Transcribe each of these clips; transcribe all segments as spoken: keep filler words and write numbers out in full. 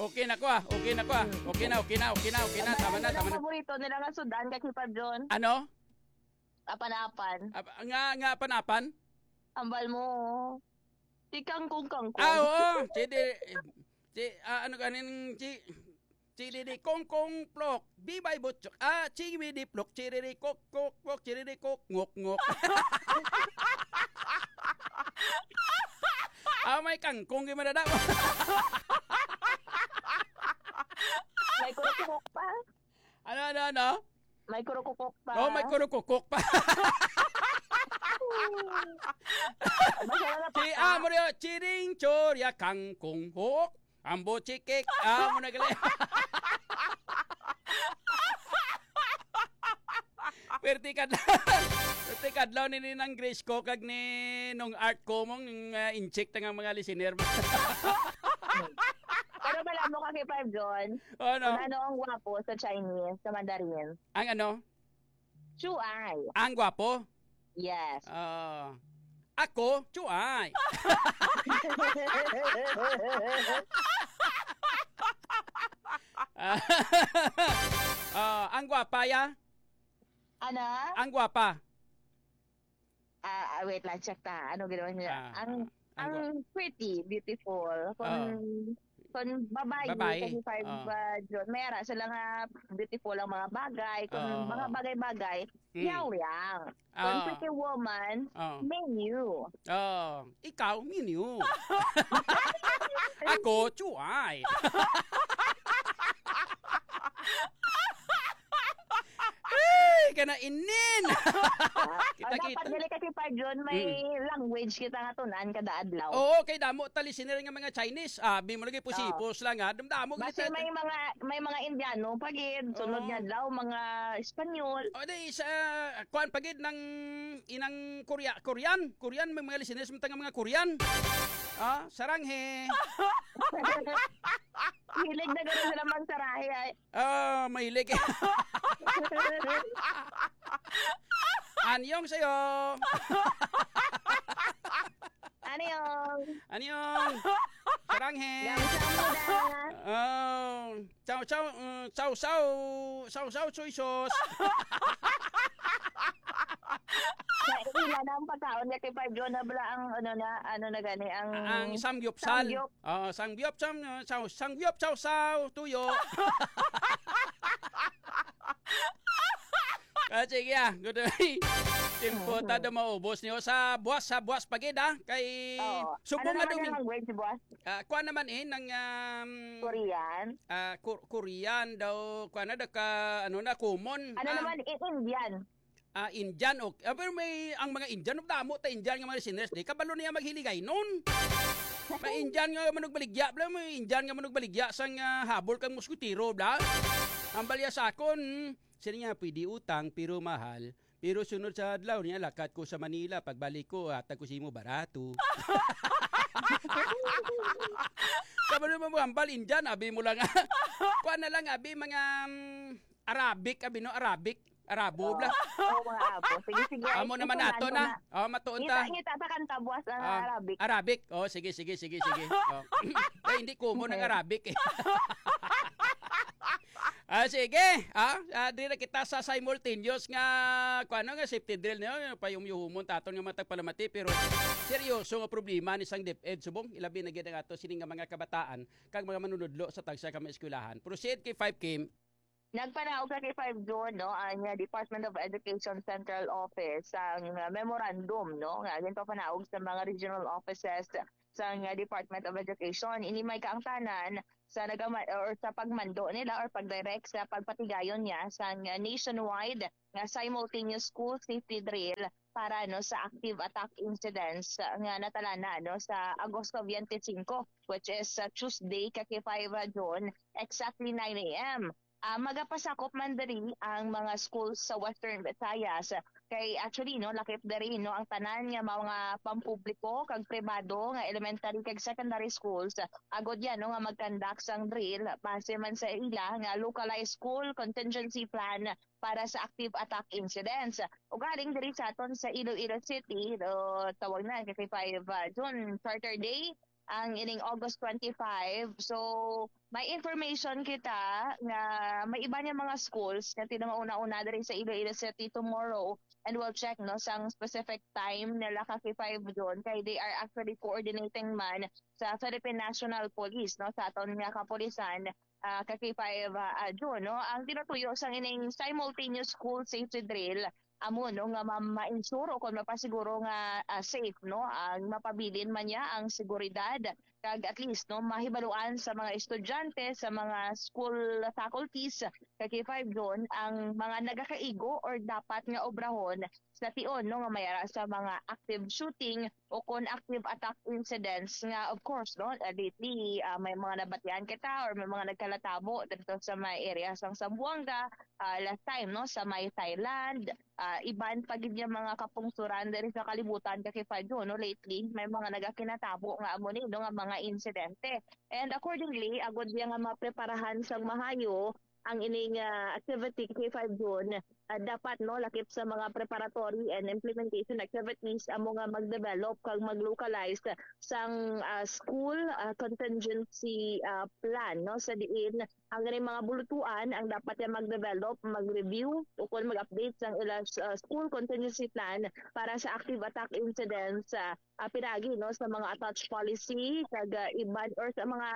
Okay na ko, ah. Okay na ko, ah. Okay na, okay na, okay na, okay na. Tama na, tama na. Paborito nila nga sudan, ka Kipa John? Ano? Apan-apan. Ap-, nga, nga apan-apan? Ambal mo. Si Kangkong Kangkong. Ah, oo. Si di, si, ah, ano kanin, si, si Didi Kongkong Plok. Bibay Butchok. Ah, si Didi Plok. Si Didi Kok, Kok, Kok. Si Didi Kok, Ngok, Ngok. Ah, may kangkong yung madadap. May kurukok pa. Ano, ano, ano? May kurukukok pa. Oh, may kurukukok pa. Basta na Si napaka- Amo niyo, chiring chorya kangkong hok. Ambo chikik. Amo na gali. Perti kadlaw. Perti kadlaw ni Ninang Grace ko kag ni nung art ko mong, uh, incheck ta nga mga listener. Pero malamo ka kay Five John. Oh, no? Kung ano ang gwapo sa Chinese, sa Mandarin. Ang ano? Chuai. Ang gwapo? Yes. Ah, ako, chuai. Ah, ang gwapa, ya? Ano? Ang gwapa. Ah, ah, wait lang, check ta. Ano ginawa niya? Ah, ang ah, ang ang gwa- pretty, beautiful. Kung, Ah. kung babae, Babae. Kasi five, Ah. uh, June, may ara sila nga beautiful ang mga bagay. Kung Ah. mga bagay-bagay, Mm. yaw yang. Kung Ah. pretty woman, Ah. menu. Ah, ikaw, menu. Ako, chuay. Ay, kana inin. Kita, Ang dapat kita. Dili kasi pa, John, may Mm. language kita nga tunan kada adlaw. Oo, kay damo ta listener nga mga Chinese. Abi mo lagi pusipos Oo. lang, ha. Damdamo Basta kita. may mga, may mga Indiano pa gid. Sunod Oo. nga adlaw, mga Espanyol. O, di, sa, kuwan pa gid ng inang Korea-, Korean. Korean, may mga listeners, may mga Korean. Ah, saranghe. Hilig na gano'n sila magsarahe, ay. Ah, mahilig. Anyong sa'yo. Anyong. Anyong. Saranghe. Gamsa mo na. Oh, chow, chow, mm, chow, chow, chow, chow, soy sauce. Ila na ang pagkaon niya kay Five John na bala ang, ano na, ano na gani, ang Ang samgyupsal. Samgyup. Oo, samgyup, sam-, uh, chow, samgyup, chow, chow, tuyo. Ah, sige, ah. Good. Timpo ta do maubos niyo sa buwas, sa buwas pa gid, ah. Kay Oo. Subong Ano nga naman dumi-, yung language, boss? ah, kuwan naman, eh, ng, um, Korean? ah, Ko-, Korean daw, kuwan na, da ka, ano na, common. Ano Ah, naman, i-, Indian? ah, Indian, ok. Ah, pero may, ang mga Indian, damo ta Indian nga mga listeners, di kabalo niya maghiligay nun. May Indian nga manugbaligya, bla, may Indian nga manugbaligya sang, ah, habol kang muskitero, bla. Ang balya sa akon, sino niya, pwede utang, pero mahal. Pero sunod sa adlaw niya, lakat ko sa Manila. Pagbalik ko, hatag ko sa imo barato. Kabalo mo, hambal, Indian, abi mo lang. Kuha na lang, abi, mga, mm, Arabic, abi, no? Arabic. Arabo, bla. Oo, mga abo. Sige, sige. Amo Ay, naman ito ato lang na. na. Oh, matuon Ngita, ta. ngita sa kanta, buwas ang Ah, Arabic. Arabic. Oh, sige, sige, sige, sige. Oh. Eh, hindi common ang Okay. Arabic, eh. Ah, sige. Ah, ah, di na kita sa simultaneous nga, kuwan nga safety drill niyo, payumyuhumon taton nga matag palamati, pero seryoso nga problema ni sang DepEd subong, ilabi na gid ang ato sini nga mga kabataan kag mga manunudlo sa tagsa ka mga eskwelahan. Proceed kay five K. Nagpanaog sa kay five June, no, ang, uh, Department of Education Central Office ang, uh, memorandum, no, nga ginpapanaog sa mga regional offices sang, uh, Department of Education. Ini may kaangtanan sa nagama-, or sa pagmando nila or pagdirect sa pagpatigayon niya sang, uh, nationwide nga simultaneous school safety drill para, no, sa active attack incidents, uh, nga natalana, no, sa Agosto twenty-five, which is, uh, Tuesday, ka five, uh, June, exactly nine a m. Ah, magapasakop man diri ang mga schools sa Western Visayas. Kay actually, no, lakip diri, no, ang tanan nga mga pampubliko kag pribado nga elementary kag secondary schools, agod yan, no, nga mag-conduct sang drill base man sa ila nga localized school contingency plan para sa active attack incidents. Ugaling diri sa aton sa Iloilo City, no, tawag na kay five, ah, June, Charter Day, ang ining August twenty-five. So, may information kita nga may iba niya mga schools nga tinamauna-una diri sa Iloilo City tomorrow, and we'll check, no, sang specific time nila ka K five June, kay they are actually coordinating man sa Philippine National Police, no, sa aton nga kapulisan, ah, ka K five, ah, ah, June, no. Ang tinutuyo sang ining simultaneous school safety drill amo, no, nga ma-, ma-ensure o kon mapasiguro nga, ah, safe, no, ang mapabilin man niya ang seguridad, kag at least, no, mahibaluan sa mga estudyante, sa mga school faculties ka K five June ang mga nagakaigo or dapat nga obrahon sa tion, no, nga may ara sa mga active shooting o kon active attack incidents nga, of course, no, ah, lately, ah, may mga nabatian kita or may mga nagkalatabo dito sa may area sang Zamboanga, ah, last time, no, sa may Thailand, ah, iban pa gid nga mga kapungsuran diri sa kalibutan ka K five June, no, lately may mga nagakinatabo nga amo ni, no, nga mga insidente. And accordingly, agod niya nga mapreparahan sang mahayo ang ining, ah, activity ka K five June, ah, dapat, no, lakip sa mga preparatory and implementation activities amo nga mag-develop kag mag-localize sang, ah, school, ah, contingency, ah, plan, no, sa diin ang ining mga bulutuan ang dapat nga mag-develop, mag-review, o kon mag-update sang ila, ah, school contingency plan para sa active attack incidents, ah, ah, pinagi, no, sa mga attached policy kag, ah, iban or sa mga,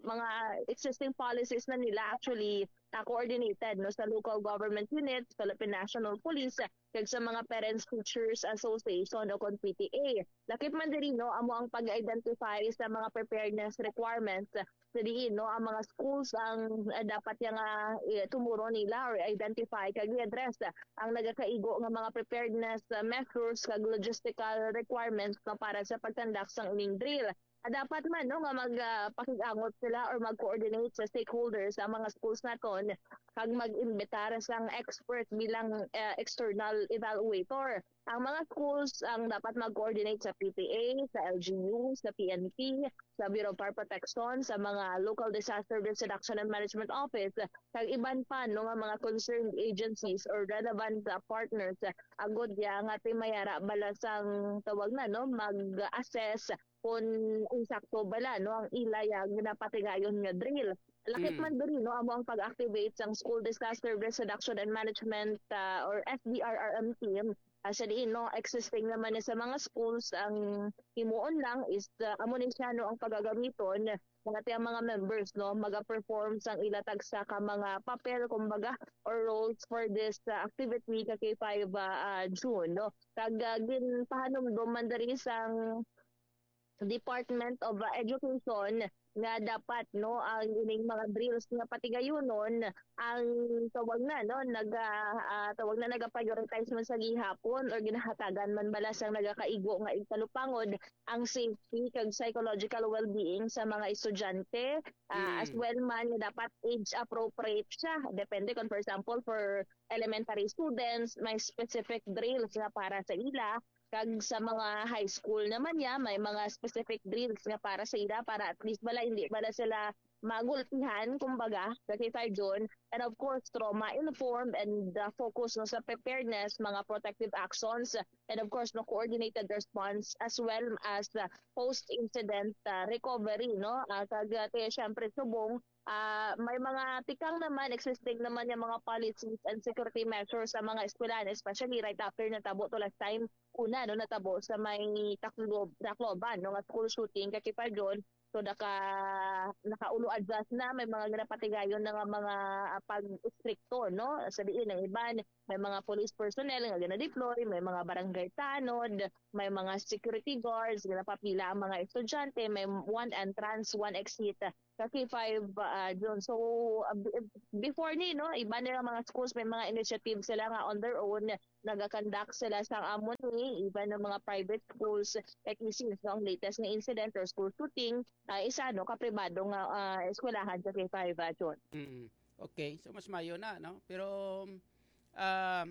mga existing policies na nila actually, ah, coordinated, no, sa local government unit, Philippine National Police, kag sa mga Parents Teachers Association o kon P T A. Lakip man diri, no, amo ang pag-identify sa mga preparedness requirements sa diin, no, ang mga schools ang, ah, dapat nga, eh, tumuron nila or identify kag i-address ang nagakaigo nga mga preparedness, ah, measures kag logistical requirements, no, para sa pag-conduct sang ining drill. Ah, dapat man, no, nga mag, ah, pakig-angot sila or mag-coordinate sa stakeholders ang mga schools naton kag mag-imbitar sang expert bilang, ah, external evaluator. Ang mga schools ang dapat mag-coordinate sa P T A, sa L G U, sa P N P, sa Bureau of Fire Protection, sa mga Local Disaster Risk Reduction and Management Office, kag iban pa, no, nga mga concerned agencies or relevant, ah, partners, ah, agod ya nga ti mayara bala sang tawag na, no, mag-assess kung insakto bala, no, ang ila ya ginapatigayon nga drill. Lakip Mm. man diri, no, amo ang pag-activate sang School Disaster Risk Reduction and Management, ah, or S D R R M team, ah, sa diin, no, existing naman na sa mga schools, ang himuon lang is, ah, amo ni siya, no, ang pagagamiton, mga ti ang mga members, no, maga-perform sang ila tagsa ka mga papel, kumbaga, or roles for this, ah, activity ka K five, ah, ah, June, no. Kag, ah, ginpahanumdom man diri sang Department of, ah, Education nga dapat, no, ang ining mga drills nga patigayunon ang tawag na, no, naga, ah, tawag na, naga-prioritize man sa gihapon or ginahatagan man bala sang nagakaigo nga igtalupangod ang safety kag psychological well-being sa mga estudyante, ah, as Mm. well man nga dapat age appropriate siya. Depende kung, for example, for elementary students, may specific drills nga para sa ila, kag sa mga high school naman niya, may mga specific drills nga para sa ila, para at least bala, hindi bala sila magulpihan, kumbaga, sa K five June. And of course, trauma-informed and, uh, focus, no, sa preparedness, mga protective actions, and of course, no, coordinated response as well as, uh, post-incident, uh, recovery, no? Ah, kag, uh, ti-, syempre, subong, ah, may mga tikang naman, existing naman yung mga policies and security measures sa mga eskwelahan, especially right after natabo to last time, una, no, natabo sa may Taclob-, Tacloban, no, nga school shooting, ka K five June. So, naka-, nakaulo adjust na, may mga ginapatigayon na nga mga, ah, pag-istrikto, no? Sa diin, ang iban, may mga police personnel nga gina-deploy, may mga barangay tanod, may mga security guards, ginapapila ang mga estudyante, may one entrance, one exit sa K five, ah, June. So, ah, b-, before ni, no, iban nila mga schools, may mga initiative sila nga on their own, nagakonduct sila sang amo ni, even ng mga private schools, like, since, no, ang latest nga incident or school shooting, ah, isa, no, ka pribado nga, ah, eskwelahan sa K five, ah, June. Mm. Okay, so mas mayo na, no? Pero, um,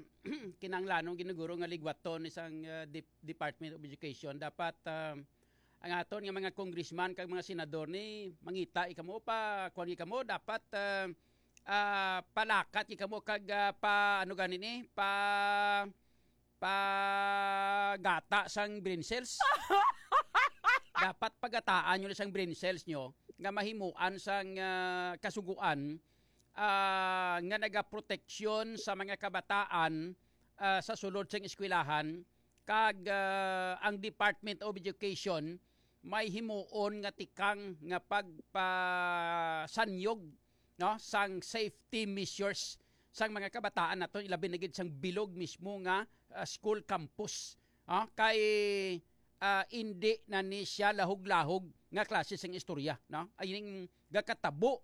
kinahanglanon ginuguro nga ligwaton ni sang, uh, Dep-, Department of Education. Dapat, um, ang aton nga mga congressman kag mga senador ni mangita ikamo pa, kuwan ikamo, dapat, uh, uh, palakat ikamo kag, uh, pa, ano gani ni, pa, pa gata sang brain cells. Dapat pagataan nyo na sang brain cells nyo nga mahimuan sang, ah, kasuguan, ah, nga nagaproteksyon sa mga kabataan, ah, sa sulod sang eskwelahan, kag, ah, ang Department of Education may himuon nga tikang nga pagpasanyog, no, sang safety measures sang mga kabataan naton, ilabi na gid sang bilog mismo nga, ah, school campus. Ah, kay, ah, indi na ni siya lahog-lahog nga klase sang istorya, no? Ay ning gakatabo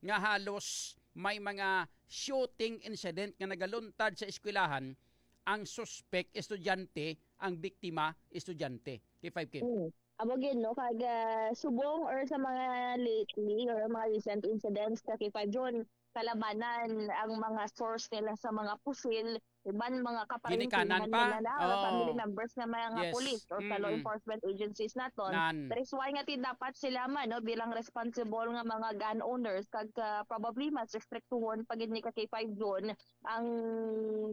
nga halos may mga shooting incident nga nagaluntad sa eskwelahan, ang suspek estudyante, ang biktima estudyante. K five Kim. Mm. Amo gid, no, kag, ah, subong or sa mga lately or mga recent incidents sa K five Zone, kalabanan ang mga source nila sa mga pusil, iban mga kaparintihan Ginikanan pa? nila na, or Oo. family members na mga Yes. pulis or sa law Mm-mm. enforcement agencies naton. Nan. That is why nga ti dapat sila man, no, bilang responsible nga mga gun owners, kag, ah, probably mas restriktuhon pa gid ni ka K five Zone ang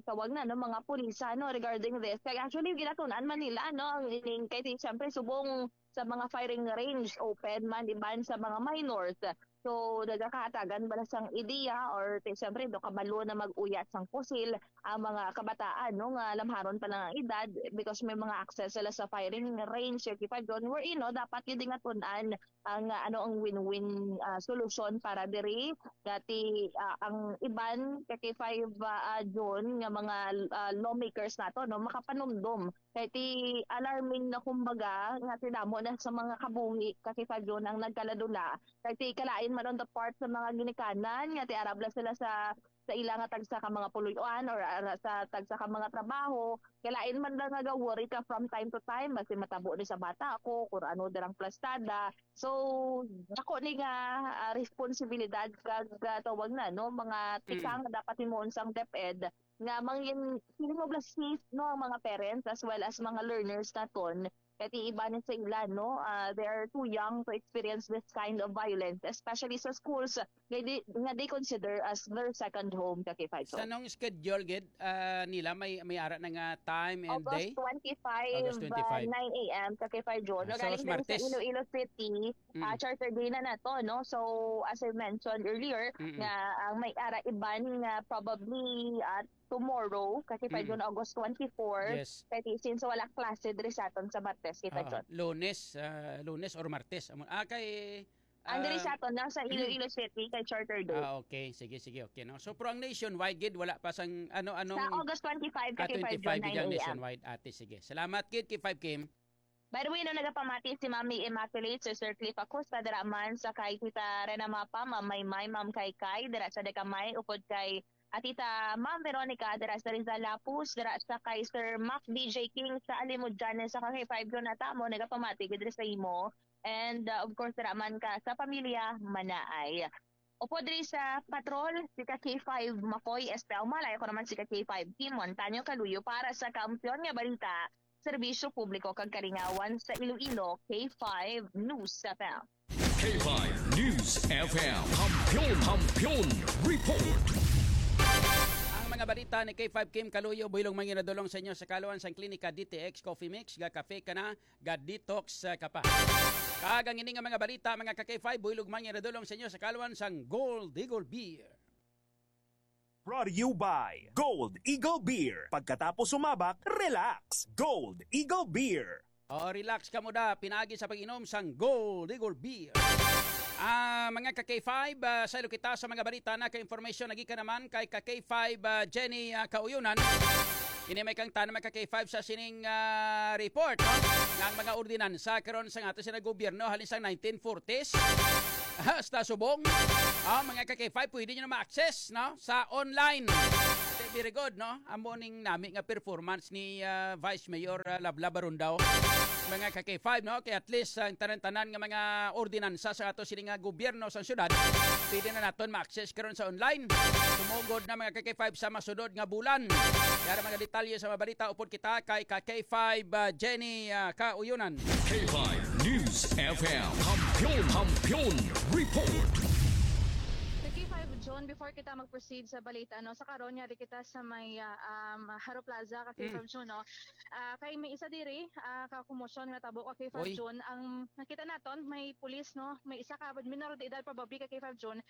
tawag na, no, mga pulis, no, regarding this. Kay actually, ginatun-an man nila, no, ang ining, kay ti-, siyempre, subong sa mga firing range, open man, iban sa mga minors. So, nagakahatagan ba na sang ideya or, ti-, siyempre, do kabalo na mag-uyat sang pusil ang mga kabataan, no, nga lamharon pa lang ang edad because may mga access sila sa firing range, thirty-five doon. Wherein, no, dapat yun din nga tun-an ang, ah, ano ang win-win, ah, solusyon para diri. Dati, ah, ang iban, thirty-five, ah, ah, June, nga mga, ah, lawmakers nato, no, makapanumdom. Kay ti alarming na, kumbaga, nga ti damo na sa mga kabuhi, thirty-five June, ang nagkaladula. Kay ti kalain man on the part sa mga ginikanan, nga ti arabla sila sa sa ila nga tagsa ka mga puluy-an or, ah, sa tagsa ka mga trabaho, kay lain man lang nga ga-worry ka from time to time, basi matabo ni sa bata ko, kung ano dirang plastada. So, dako ni nga, ah, responsibilidad kag, ah, tawag na, no, mga Mm. tikang nga dapat himuon sang DepEd nga mangin-, feeling of the safe, no, ang mga parents as well as mga learners naton. Kay ti iba ni sa ila, no, ah, they are too young to experience this kind of violence, especially sa schools nga di, nga they consider as their second home, ka K five Sa Zone. Nong schedule gid, ah, nila may, may ara na nga time and August day? twenty-five, August twenty-five. ah, nine A M, ka K five Zone. Ah, so, Galing din sa Martes. Iloilo City, ah, Mm. Charter Day na nato, no? So, as I mentioned earlier, Mm-mm. nga ang may ara iban nga probably, ah, tomorrow, ka K five Mm. Zone, August twenty-four. Yes. Kay ti-, since wala klase diri sa aton sa Martes, kita, Oo, John. Lunes, ah, Lunes or Martes. Amo, ah, kay, Ang diri ah, sa aton, nasa Iloilo City, kay Charter Day. Ah, okay. Sige, sige, okay, no? So, pero ang nationwide gid, wala pa sang, ano, anong Sa August twenty-five, ka Ah, K five Zone, twenty-five gid ang nine A M. nationwide, ate. Sige. Salamat gid, K five Kim. By the way, no, nagapamati si Mami Immaculate, si Sir Cliff Acosta, dira man sa kay Tita Rena Mapa, Ma'am Maymay, Ma'am Kay Kay, dira sa Decamay, upod kay, ah, Tita Ma'am Veronica, dira sa Rizal Lapus, dira sa kay Sir Mac D J King sa Alimod Janes, sa kay five Zone nata mo, nagapamati gid diri sa imo. And, uh, of course, dira man ka sa pamilya Manaay. Upod diri sa patrol, si ka K five Makoy Estel Malay, ako naman si ka K five Kim Montaño Kaluyo para sa Kampiyon nga Balita, Serbisyo Publiko kag Kalingawan sa Iloilo, K five News F M. K five News F M. Kampiyon, Kampiyon Report. Ang mga balita ni K five Kim Kaluyo, buhilong manginadulong sa inyo sa kaluan sang Klinika D T X Coffee Mix, ga kafe ka na, ga detox, ah, ka pa. Kag ang ini nga mga balita, mga ka K five, buhilog man nga nadulong sa inyo sa kaluan sang Gold Eagle Beer. Brought to you by Gold Eagle Beer. Pagkatapos sumabak, relax. Gold Eagle Beer. Oh, relax ka mo da, pinaagi sa pag-inom sang Gold Eagle Beer. Ah, mga ka K five, ah, saylo kita sa mga balita na ka information nagikan naman kay ka K five, ah, Jenny, ah, Kauyonan. Ini may kangtan, mga ka K five, sa sining, ah, report, no? Nga ang mga ordinansa karon sa ato sa gobyerno halin sa nineteen forties hasta subong. Ah, mga ka K five, pwede nyo na ma-access, no? Sa online. Ate, very good, no? Amo ning nami nga performance ni, ah, Vice Mayor, ah, Lablab Arundao. Mga ka K five, no? Kaya at least, ang tanan-tanan nga mga ordinansa sa ato sini nga gobyerno sa syudad, pwede na naton ma-access karon sa online. Sumugod na, mga ka K five, sa masunod nga bulan. Yara mga detalye sa mga balita, upod kita kay ka K five, ah, Jenny, ah, Kauyonan. K five News F M. Kampiyon, Kampiyon Report. Ka K five John Before kita mag-proceed sa balita, no, sa karon, yari kita sa may, ah, um, Haro Plaza, ka K five June, no? Ah, kay may isa diri, ah, ka komosyon nga tabo, ka K five June. Ang nakita naton, may pulis, no? May isa ka minor de edad, probably, ka K five June,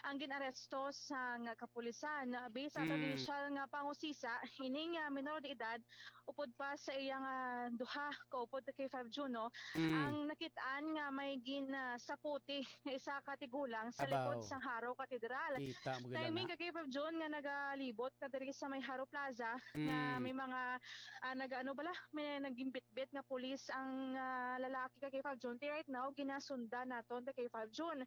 ang gin-aresto sang kapulisan. Based sa initial nga pangusisa, ining, ah, minor de edad, upod pa sa iyang, ah, duha ka upod, ka K five June, no? Ang nakit-an nga may gin, ah, saputi nga isa ka tigulang sa likod sang Haro Katedral. Kita mo gila. Timing, ka K five June, nga nagalibot ka diri sa may Haro Plaza, nga may mga, ah, nag-ano bala, may nagimbitbit nga pulis ang, ah, lalaki, ka K five June. Ti right now, ginasundan naton, ka K five June.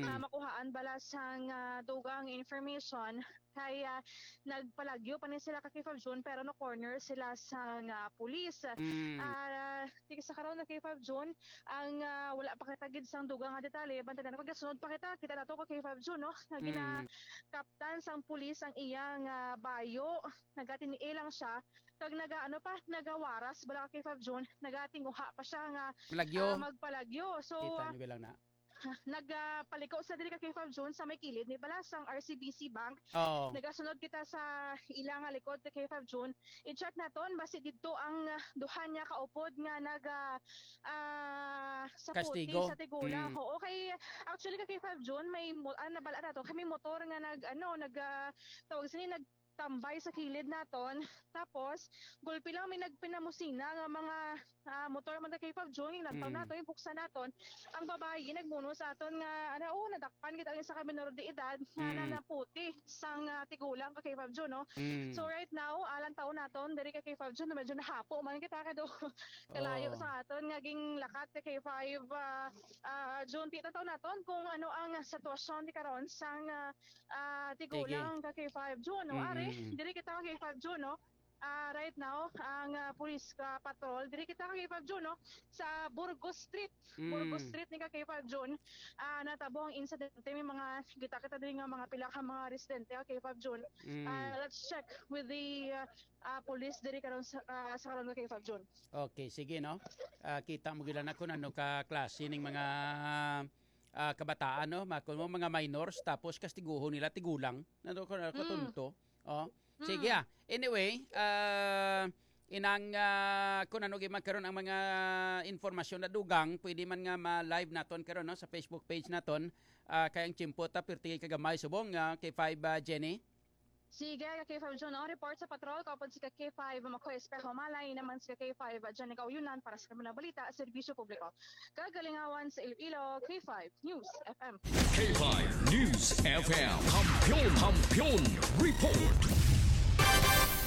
Ah, makuhaan bala sang, ah, dugang information kay, ah, nagpalagyo pa ni sila, ka K five June, pero na-corner sila sang, ah, pulis. Ah, ti sa karon, ka K five June, ang, ah, wala pa kita gid sang dugang nga detalye, bantayan ko, gasunod pa kita, kita nato, ka K five June, no? Nga ginakaptan sang pulis ang iyang, ah, bayo, nagatinuod lang siya, kag naga, ano pa, nagawaras bala, ka K five June, nagatinguha pa siya nga, Malagyo. ah, magpalagyo. So, Kita ah, nyo lang na. nagapaliko sa diri, ka K five June, sa may kilid ni bala sang R C B C Bank. Oo. Nagasunod kita sa ila nga likod, ka K five June. I-check naton basi didto ang, ah, duha niya kaupod nga naga, ah, sa puti Kastigo. sa tigulang. Mm. Oo, kay actually, ka K five June, may mo-, ah, nabal-an nato, kay may motor nga nag, ano, nag, ah, tawag sini, nag tambay sa kilid naton. Tapos, gulpi lang may nagpinamusina nga mga, ah, motor man, ka K five June, yung lantaw Mm. naton, yung buksan naton. Ang babayi nagmuno sa aton nga, ano, oh, nadakpan kita lang sa ka minor de edad nga Mm. nanaputi sang, ah, tigulang, ka K five June, no? Mm. So, right now, ah, lantaw naton, diri, ka K five June, medyo nahapo man kita kay do kalayo Oo. sa aton nga ginlakat, ka K five, ah, ah, June. Ti, lantaw naton kung ano ang sitwasyon ti karon sang, ah, ah, Sige. tigulang, ka K five June, no? Mm, Ari, mm, mm. diri kita, ka K five June, no? Ah, right now, ang, ah, police, ah, patrol, diri kita, ka K five June, no? Sa Burgos Street, Burgos Mm. Street ni, ka K five June, ah, natabo ang insidente. May mga, kita kita diri nga mga pila ka mga residente, ka K five June. Mm. Ah, let's check with the, ah, ah, police diri karon sa, ah, sa karon, ka K five June. Okay, sige, no? Ah, kita mo gila na kung ano ka klase ning mga, ah, kabataan, no? Ma-, kung mga minors, tapos kastiguhon nila tigulang. Ano ko, Mm. katunto? Oh. Mm. Sige, ah. Anyway, ah, inang, ah, kung ano gyud man karon ang mga informasyon na dugang, pwede man nga ma-live naton karon, no, sa Facebook page naton. Ah, kay ang tiyempo ta, pirti kagamay subong, ah, K five, ah, Jenny. Sige, ka K five June, ang report sa patrol, kaupod si ka K five, Makoy Espejo Malay, naman si ka K five, Jenny Kauyunan, para sa Kamunang Balita, Serbisyo Publiko. Kagalingawan sa Iloilo, K five News F M. K five News F M, Kampiyon, Kampiyon Report.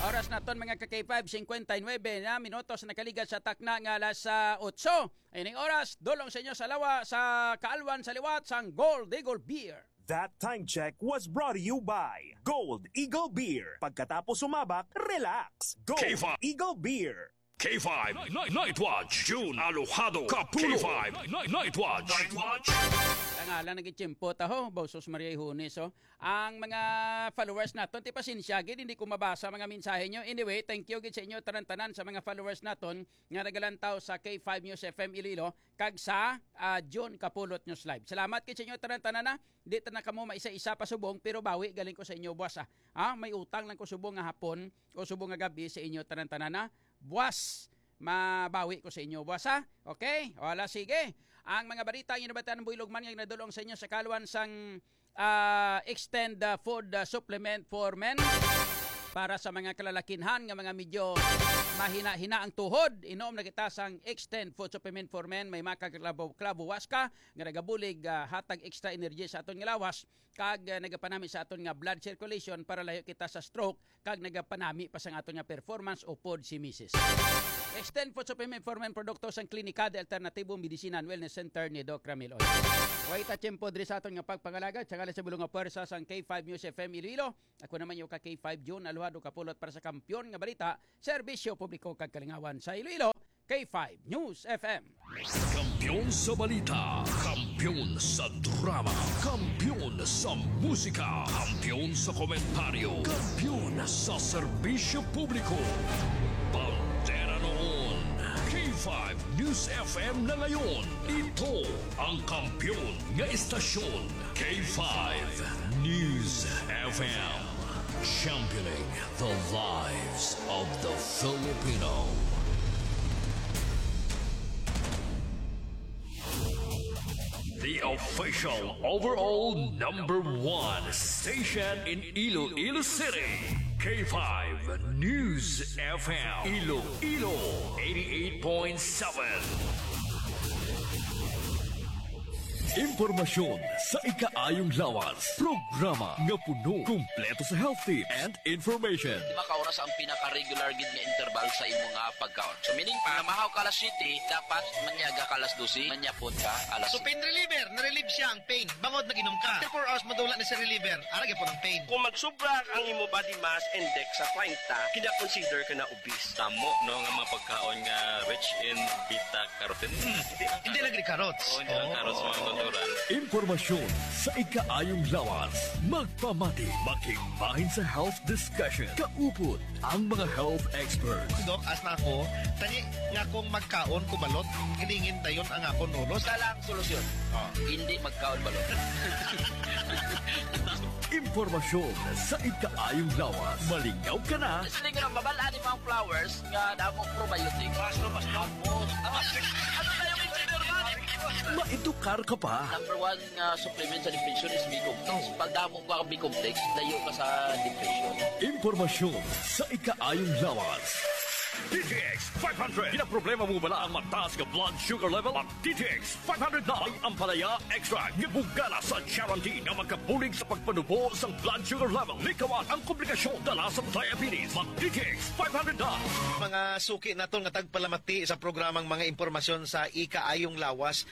Oras naton, mga ka K five, singkwenta y nuebe na minutos nakaligat sa takna nga alas, ah, otso. Ining oras, dulong sa inyo sa lawa, sa kaalwan, sa liwat sang Gold Eagle Beer. That time check was brought to you by Gold Eagle Beer. Pagkatapos sumabak, relax. Gold K five. Eagle Beer. K five Night, Night Watch, June Alojado Kapulo. K five Night, Night Watch. Night Watch. Tangalan, nagitiyempo ta, ho. Bausos Maria Ihunes, oh. Ang mga followers naton, ti pasensya gid, hindi ko mabasa mga mensahe nyo. Anyway, thank you gid sa inyo tanan-tanan sa mga followers naton nga nagalantaw sa K five News F M Iloilo kag sa, ah, June Kapulot News Live. Salamat gid sa inyo tanan-tanan, ha. Di ta na kamo maisa-isa pa subong, pero bawi galing ko sa inyo, buwas, ah. Ah, may utang lang ko subong nga hapon o subong nga gabi sa inyo tanan-tanan, ha. Buwas, mabawi ko sa inyo, buwas, ha. Okay? Wala, sige. Ang mga balita ang inabatan ng Buylog man nga nadulong sa inyo sa kalwan sang, ah, Extend, ah, Food, ah, Supplement for Men. Para sa mga kalalakinhan nga mga medyo mahina-hina ang tuhod, inom na kita sang Extend Food Supplement for Men. May mga kaklabo-klabo waska nga nagabulig, ah, hatag extra energy sa aton nga lawas, kag, ah, nagapanami sa aton nga blood circulation para layo kita sa stroke, kag nagapanami pa sang aton nga performance upod si misis. Extend Food Supplement for Men, produkto sang Klinika de Alternativo Medicina and Wellness Center ni Doc Ramil Oy. Way ta tiyempo diri sa aton nga pagpangalagad sa ngalan sa bulong nga pwersa sang K five News F M Iloilo. Ako naman yung ka K five June Alwado Kapulot para sa Kampiyon nga Balita, Serbisyo Publiko kag Kalingawan sa Iloilo, K five News F M. Kampiyon sa balita, kampiyon sa drama, kampiyon sa musika, kampiyon sa komentaryo, kampiyon sa serbisyo publiko. Bandera noon, K five. five News F M na ngayon. Ito ang kampiyon nga estasyon, K five News F M. Championing the lives of the Filipino. The official overall number one station in Iloilo City, K five News F M, Iloilo, eighty-eight point seven. Impormasyon sa ikaayong lawas. Programa nga puno, kumpleto sa health tips and information. Lima ka oras ang pinaka-regular gid nga interval sa imo nga pagkaon. So, meaning pa, namahaw ka alas siyete, dapat manyaga ka alas dose, manyapon ka alas So, pain reliever, na-relieve siya ang pain. Bangod nag-inom ka. After four hours, madula na si reliever. Ara gyapon ang pain. Kung magsubra ang imo body mass index sa treinta, kina-consider ka na obese. Tamo, no, nga mga pagkaon nga rich in beta carotene. Hindi lang carrots. Oo, hindi lang carrots, mga natural. Impormasyon sa ikaayong lawas. Magpamati, makigbahin sa health discussion. Kaupod ang mga health experts. Dok, as na ako, tani nga kung magkaon ko balot, hilingin dayon ang akon ulo. Isa lang solusyon. Ah. Hindi magkaon balot. Impormasyon sa ikaayong lawas. Malingaw ka na. Sila nga mabal-an ni mga flowers nga damo probiotic. Mas, mas damo. Ano na yung engineer man? Maedukar ka pa. Number one nga supplement sa depression is B-complex. Pag damo ka B-complex, layo ka sa depression. Impormasyon sa ikaayong lawas. D T X five hundred. Ginaproblema mo bala ang mataas nga blood sugar level? Ang D T X five hundred na may ampalaya extract nga bugana sa charantin nga magkabulig sa pagpanubo sang blood sugar level. Likawan ang komplikasyon dala sa diabetes. Mag D T X five hundred na. Mga suki naton nga tagpalamati sa programang mga impormasyon sa ikaayong lawas.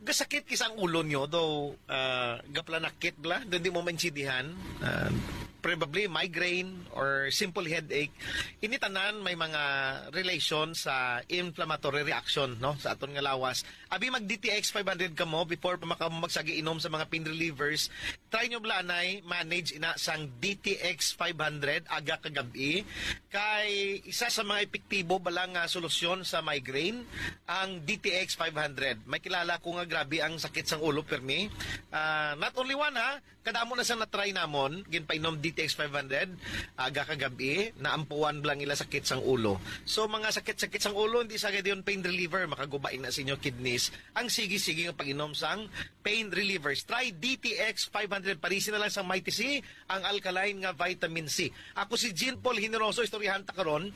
Gasakit kis ang ulo nyo, daw, ah, gaplanakit bla, daw di mo maintindihan. Ah, probably migraine or simple headache. Ini tanan may mga relation sa inflammatory reaction, no, sa aton nga lawas. Abi mag D T X five hundred kamo before pa maka-, magsagi inom sa mga pain relievers. Try nyo bala anay manage ina sang D T X five hundred aga kag gab-i. Kay isa sa mga epektibo bala nga solusyon sa migraine ang D T X five hundred. May kilala ko nga grabe ang sakit sang ulo, permi. Ah, not only one, ha, kadamo na sang na-try namon, ginpainom D T X five hundred, aga kag gab-i, naampuan lang ila sakit sang ulo. So, mga sakit-sakit sang ulo, hindi sa gadiyon pain reliever, makaguba na sa inyo kidneys. Ang sige-sige nga pag-inom sang pain relievers. Try D T X five hundred, parisi na lang sang Mighty C, ang alkaline nga vitamin C. Ako si Jean Paul Generoso, istoryahan ta karon.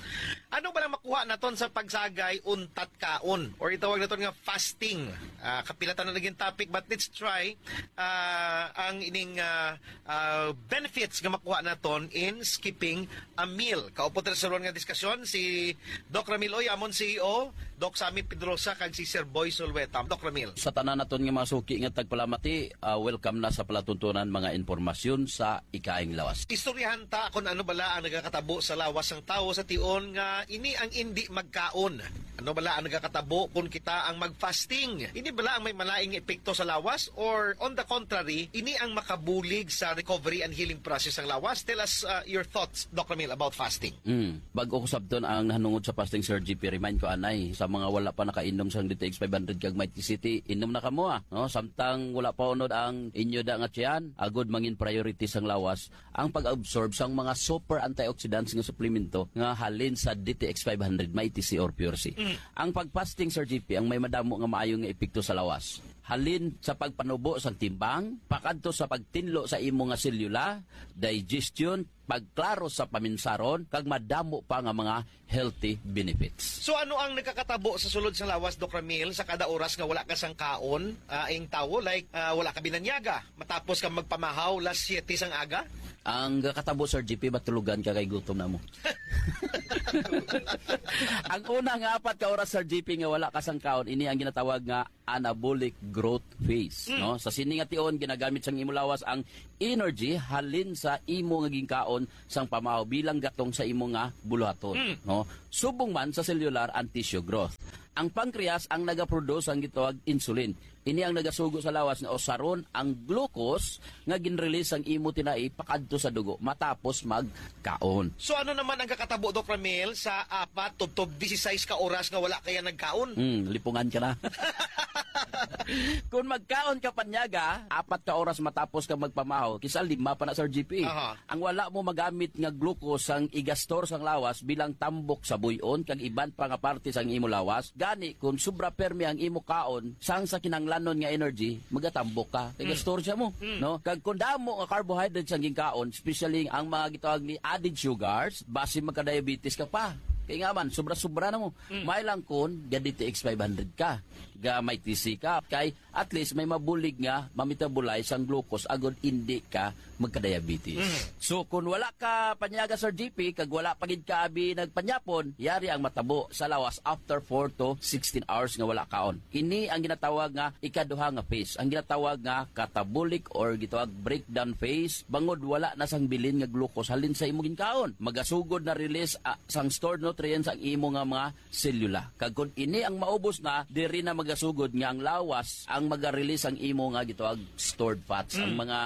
Ano ba lang makuha naton sa pagsagay untat kaon? Or itawag naton nga fasting. Ah, kapila ta na naging topic, but let's try, ah, ang ining, ah, ah, benefits nga makuha naton in skipping a meal. Kaupod ta sa ron nga diskusyon si Doc Ramil Oy, amon C E O, Doc Sammy Pedrosa, kag si Sir Boy Sulweta. Doc Ramil. Sa tanan naton nga mga suki nga tagpalamati, ah, welcome na sa palatuntunan mga impormasyon sa ikaayong lawas. Istoryahan ta kung ano bala ang nagakatabo sa lawas sang tawo sa tion nga ini ang indi magkaon. Ano bala ang nagakatabo kung kita ang mag-fasting? Ini bala ang may malaing epekto sa lawas, or on the contrary, ini ang makabulig sa recovery and healing process sang lawas? Tell us, uh, your thoughts, Doc Ramil, about fasting. Mm. Bag-o ko sabton ang nahanungod sa fasting, Sir G P, remind ko anay, sa mga wala pa nakainom sang D T X five hundred kag Mighty C, inom na kamo, ah, no? Samtang wala pa unod ang inyo da nga tiyan, agod mangin priority sang lawas ang pag-absorb sang mga super antioxidants nga suplemento nga halin sa D T X five hundred, Mighty C or Pure C. Mm. Ang pag-fasting, Sir G P, ang may madamo nga maayo nga epekto sa lawas. Halin sa pagpanubo sang timbang, pakadto sa pagtinlo sa imo nga selula, digestion, pagklaro sa paminsaron, kag madamo pa nga mga healthy benefits. So, ano ang nagakatabo sa sulod sang lawas, Doc Ramil, sa kada oras nga wala ka sang kaon, ah, ang tawo? Like, ah, wala ka binanyaga matapos ka magpamahaw las siete sang aga? Ang katabo, Sir G P, matulugan ka kay gutom na mo. Ang una nga apat ka oras, Sir G P, nga wala ka sang kaon, ini ang ginatawag nga anabolic growth phase, Mm. no? Sa sini nga tion, ginagamit sang imo lawas ang energy halin sa imo nga ginkaon sang pamahaw bilang gatong sa imo nga buluhaton, Mm. no? Subong man sa cellular and tissue growth. Ang pancreas ang nagaproduce ang gitawag insulin. Ini ang nagasugo sa lawas nga usaron ang glucose nga ginrelease sang imo tinai pakadto sa dugo matapos magkaon. So ano naman ang kakatabo, Doc Ramil, sa apat tubtob dieciséis ka oras nga wala kaya nagkaon? Hmm, lipungan ka na. Kung magkaon ka panyaga, apat ka oras matapos ka magpamahaw, kisa lima pa na, Sir G P. Aha. Ang wala mo magamit nga glucose sang igastor sang lawas bilang tambok sa buy-on kag iban pa nga parte sang imo lawas. Gani, kung sobra permi ang imo kaon, sang sa kinahanglanon nga energy, magatambok ka. Kay Mm. gastor siya mo, Mm. no? Kag kung damo nga carbohydrates ang ginkaon, especially ang mga gitawag ni added sugars, basi magka-diabetes ka pa. Kay nga man, sobra-sobra na mo. Mm. May lang kun, ga D T X five hundred ka, ga may T C ka, kay at least may mabulig nga ma-metabolize ang glucose agod indi ka magka-diabetes. Mm. So, kung wala ka panyaga, Sir G P, kag wala pa gid ka abi nagpanyapon, yari ang matabo sa lawas after four to sixteen hours nga wala kaon. Ini ang ginatawag nga ikaduha nga phase, ang ginatawag nga catabolic or gitawag breakdown phase, bangod wala na sang bilin nga glucose halin sa imo ginkaon. Magasugod na release, ah, sang stored nutrients ang imo nga mga selula. Kag kung ini ang maubos na, diri na magasugod nga ang lawas ang maga-release ang imo nga gitawag stored fats, ang Mm. mga,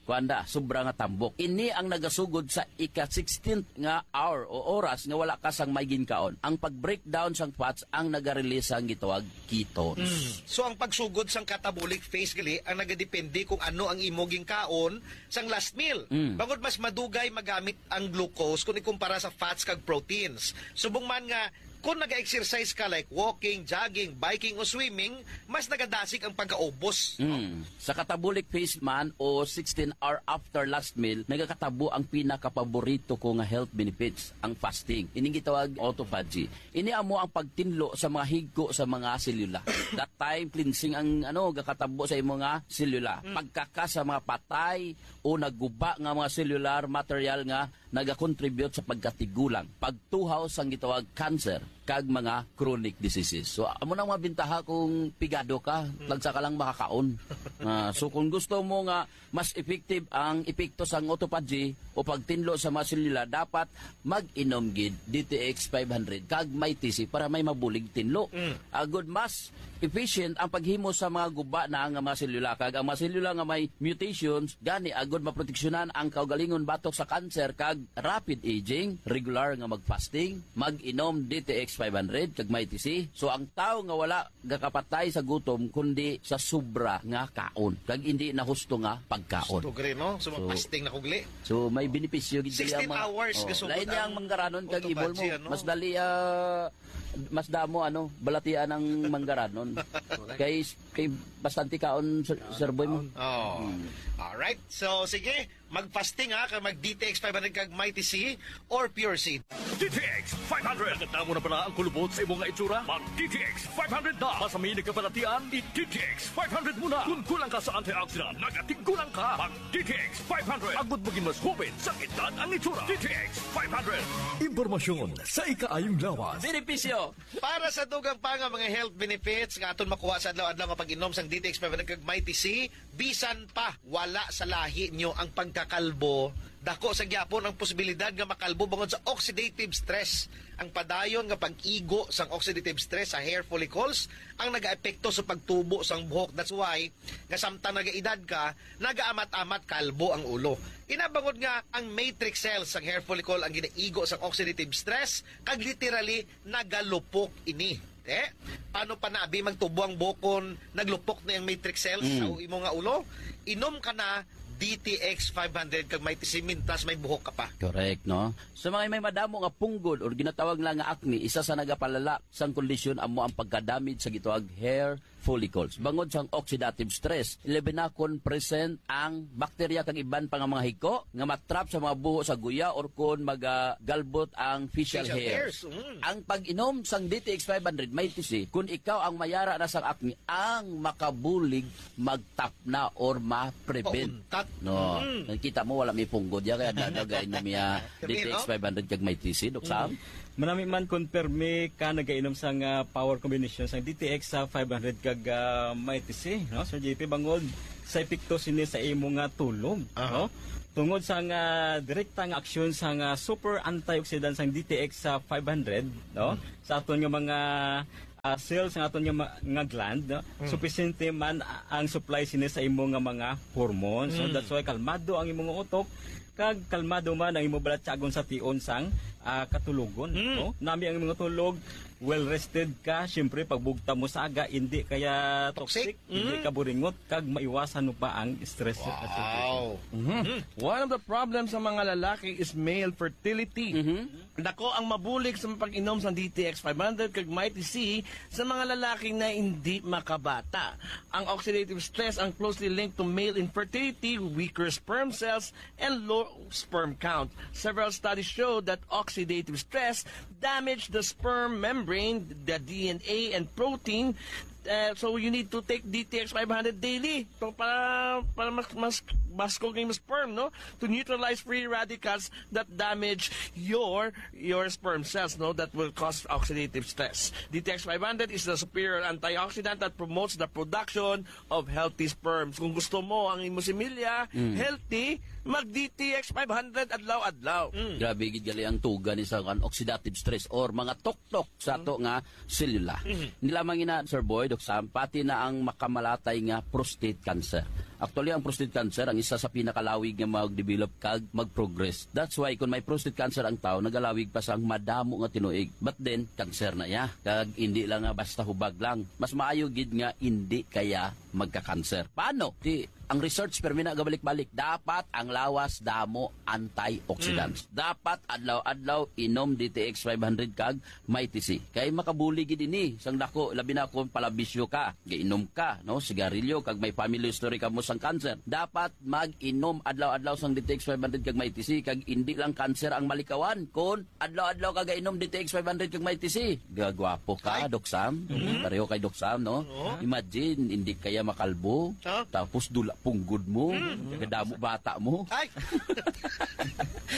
kuwan da, sobra nga tambok. Ini ang nagasugod sa ika-sixteenth nga hour o oras nga wala ka sang may ginkaon. Ang pag-breakdown sang fats ang naga-release sang gitawag ketones. Mm. So, ang pagsugod sang catabolic phase gali ang nagadepende kung ano ang imo ginkaon sang last meal. Mm. Bangod mas madugay magamit ang glucose kung ikumpara sa fats kag proteins. Subong man nga kung naga-exercise ka like walking, jogging, biking o swimming, mas nagadasig ang pagkaubos. Mm. Sa catabolic phase man o sixteen hour after last meal, nagakatabo ang pinakapaborito ko nga health benefits, ang fasting. Ining gitawag autophagy. Ini amo ang pagtinlo sa mga higko sa mga selula. That time, cleansing ang, ano, gakatabo sa imo nga selula. Mm. Pagkaka sa mga patay o naguba nga mga cellular material nga nagakontribute sa pagkatigulang, pagtuhaw sang gitawag cancer, kag mga chronic diseases. So, amo na ang mga bintaha kung pigado ka, Mm. lagsa ka lang makakaon. Ah, so, kung gusto mo nga mas effective ang epekto sang autophagy o pagtinlo sa mga selula, dapat mag-inom gid D T X five hundred kag may T C para may mabulig tinlo. Mm. Agod mas efficient ang paghimo sa mga guba na nga mga selula, kag ang mga selula nga may mutations gani, agod maproteksyonan ang kaugalingon batok sa cancer kag rapid aging, regular nga mag-fasting, mag-inom D T X five hundred kag may T C. So, ang tawo nga wala gakapatay sa gutom, kundi sa sobra nga kaon, kag hindi na husto nga pagkaon. Gusto gri, no? So, So, mag-fasting na kugli. So, may benepisyo gid kaya sixteen mga hours, oh, kasugod lain niya ang ang manggarangon kag autophagy, imol mo. Ano? Mas dali, ah, mas damo, ano, balatian ang manggarangon. Correct. Kay, kay bastante kaon, Sir, Sir Boy mo. Oh. Hmm. Alright. So, sige. Mag-fasting, ha, kag mag-D T X five hundred kag Mighty C or Pure Seed. D T X five hundred. Nagdamo na pala ang kulubot sa imo nga itsura? Mag-D T X five hundred na. Masami nagkabalatian, i-D T X five hundred mo na. Kung kulang ka sa antioxidant, nagatigulang ka. Mag-D T X five hundred. Agud maging mas hupit sa edad ang itsura. D T X five hundred. Impormasyon sa ikaayong lawas. Benepisyo. Para sa dugang pa nga mga health benefits nga aton makuha sa adlaw-adlaw nga pag-inom sang D T X five hundred kag Mighty C, bisan pa wala sa lahi nyo ang pagkakalbo, dako sa gyapon ang posibilidad nga makalbo bangod sa oxidative stress. Ang padayon nga pag-igo sang oxidative stress sa hair follicles ang nagaepekto sa pagtubo sang buhok. That's why nga samtang nagaedad ka, nagaamat-amat kalbo ang ulo. Inabangod nga ang matrix cells sang hair follicle ang ginaigo sang oxidative stress, kag literally nagalupok ini. Eh, paano pa na abi magtubo ang buhok kon naglupok na ang matrix cells Mm. sa imo nga ulo? Inom ka na D T X five hundred kag may tisimintas may buhok ka pa. Correct, no? Sa mga may madamo nga punggod or ginatawag lang nga acne, isa sa nagapalala sang kondisyon amo ang pagkadamage sa gitawag hair follicles. Bangod sang oxidative stress, ilabi na kon present ang bakterya kag iban pa nga mga higko nga matrap sa mga buho sa guya or kon magagalbot ang facial Facial hairs. hairs, mm. Ang pag-inom sang D T X five hundred may tisi, kung ikaw ang mayara na sang acne, ang makabulig magtap na or ma-prevent. Pauntat. No. Mm. Nakita mo, wala may punggod ya, kaya dagagay na miya Sabi, D T X no? five hundred kag may tisi, Dok Sam. Mm. Manami man kon permi ka nagainom sang, ah, power combination sang D T X sa five hundred kag, ah, may tisi, no? Sir J P, bangod sa epekto sini sa imo nga tulog, Aha. no? Tungod sa nga direkta nga aksyon sa nga super antioxidant sang D T X sa five hundred, no? Hmm. Sa aton nga mga ah, cells nga aton nga ma-, nga gland, no? Mm. Supisente man a-, ang supply sini sa imo nga mga hormones. So, Mm. that's why kalmado ang imo nga utok, kag kalmado man ang imo balatyagon sa tion sang, ah, katulogon, Mm. no? Nami ang imo tulog, well rested ka, siyempre, pagbugta mo sa aga, hindi kaya Toxic. toxic, hindi Mm. ka buringot, kag maiwasan mo pa ang stress. Wow. Mhm. Mm. One of the problems sa mga lalaki is male fertility. Mhm. Dako ang mabulig sa pag-inom sang D T X five hundred kag Mighty C sa mga lalaki na hindi makabata. Ang oxidative stress ang closely linked to male infertility, weaker sperm cells, and low sperm count. Several studies show that oxidative stress damage the sperm membrane, the D N A, and protein. Uh, so you need to take D T X five hundred daily to para para mas mas mas kung sperm, no, to neutralize free radicals that damage your your sperm cells, no, that will cause oxidative stress. D T X five hundred is the superior antioxidant that promotes the production of healthy sperms. Kung gusto mo ang imo similya Mm. healthy, mag D T X five hundred adlaw-adlaw. Mm. Grabe gid gali ang tuga ni sa kan oxidative stress or mga tuktok sa ato nga selula. Mm. Hindi lamang ina, Sir Boy, Doc Sam, pati na ang makamalatay nga prostate cancer. Actually, ang prostate cancer ang isa sa pinakalawig nga mag-develop kag mag-progress. That's why kung may prostate cancer ang tao, nagalawig pa sang madamo nga tinuig. But then, cancer na iya. Kag hindi lang nga basta hubag lang. Mas maayo gid nga hindi kaya magka-cancer. Paano? Di, ang research, pero na gabalik-balik, dapat ang lawas damo antioxidants. Mm. Dapat adlaw-adlaw inom D T X five hundred kag Mighty C. Kay makabulig gid ini sang dako, labi na kung palabisyo ka, gainom ka, no, sigarilyo, kag may family history ka mo sang cancer. Dapat mag-inom adlaw-adlaw sang D T X five hundred kag Mighty C, kag hindi lang cancer ang malikawan, kun adlaw-adlaw ka gainom D T X five hundred kag Mighty C. Gagwapo ka, Ay. Doc Sam. Mm-hmm. Pareho kay Doc Sam, no? Oo. Imagine, hindi kaya makalbo. Ah. Tapos dula punggod mo. Mm. Kadamo bata mo. Ay!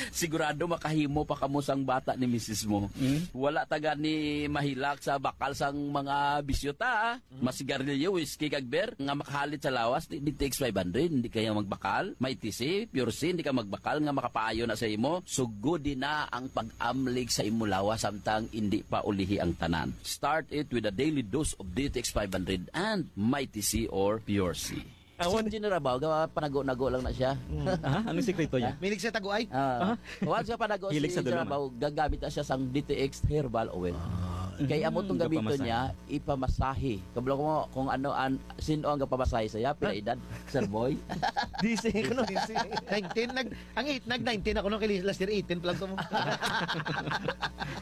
Sigurado makahimo pa kamo sang bata ni misis mo. Mm. Wala ta gani mahilak sa bakal sang mga bisyo ta, ah. Mm. Masigarilyo, whiskey, kag beer, nga makahalit sa lawas, di, D T X five hundred, hindi kaya magbakal. Mighty C, Pure C, hindi ka magbakal nga makapaayo na sa imo. Sugodi na ang pag-amlig sa imo lawas samtang hindi pa ulihi ang tanan. Start it with a daily dose of D T X five hundred and Mighty C or Pure C. Awan. Si General Bao, gawa panago-nago lang na siya. Mm. Ah, anong sikreto niya? Milig sa taguay? Ah. Ah. Once nga panago Hilig si sa General dulong. Bao, gagamit na siya sang D T X herbal oil. Ah. Kay amo tong Mm, gamiton gapamasahe. niya, ipamasahe. Kabalo ko kung ano an, sino ang gapamasahe sa iya, pila Ah. edad, Sir Boy? Gising ko, no? Gising. Nineteen, nag-, ang eight, nag-nineteen ako, no? Kay last year, eighteen pa lang to mo.